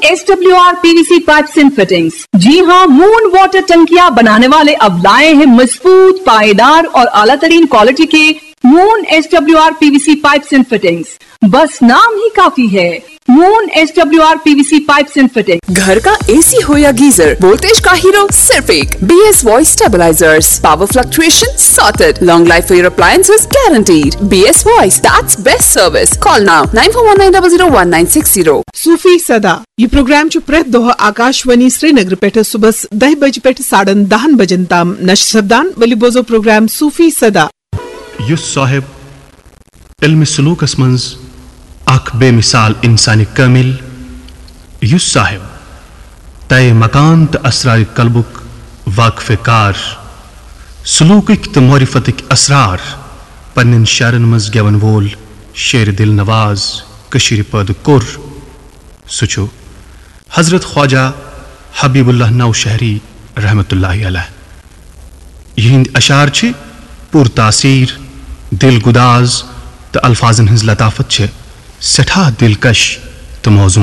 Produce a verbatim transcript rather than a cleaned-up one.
S W R PVC pipes and fittings. जी हाँ, moon water टंकियां बनाने वाले अब लाए हैं मजबूत, पाएदार और आला तरीन क्वालिटी के moon S W R PVC pipes and fittings. बस नाम ही काफी है, moon S W R PVC pipes and fittings. घर का एसी हो या गीजर, वोल्टेज का हीरो सिर्फ एक। B S voice stabilisers. Power fluctuation sorted. Long life for your appliances guaranteed. B S Voice, that's best service. Call now, nine four one nine double zero one nine six zero. صوفی صدا۔ یہ programme چھُ پرٛٮ۪تھ دۄہ آکاشوانی سرینگر پٮ۪ٹھ صُبحس دَہہِ بجہِ پٮ۪ٹھ ساڑن دَہن بجن تام نشر سپدان۔ ؤلِو بوزو پروگرام صوفی صدا۔ یُس صاحب علم سلوکس منٛز اکھ بے مثال انسان کامل، یُس صاحب طے مکان تہٕ اسرار قلبُک واقف کار، سلوکٕکۍ تہٕ معرفتٕکۍ اسرار پننٮ۪ن شعرن منٛز گٮ۪ون وول شعر دل نواز کٔشیٖرِ پٲدٕ کوٚر، سُہ چھُ حضرت خواجہ حبیب اللہ نوشہری رحمت اللہ علیہ۔ یہنٛدۍ اشعار چھِ پُر تاثیر، دل گداز تہٕ الفاظن ہٕنٛز لطافت چھِ سٮ۪ٹھاہ دلکش تہٕ موزوں۔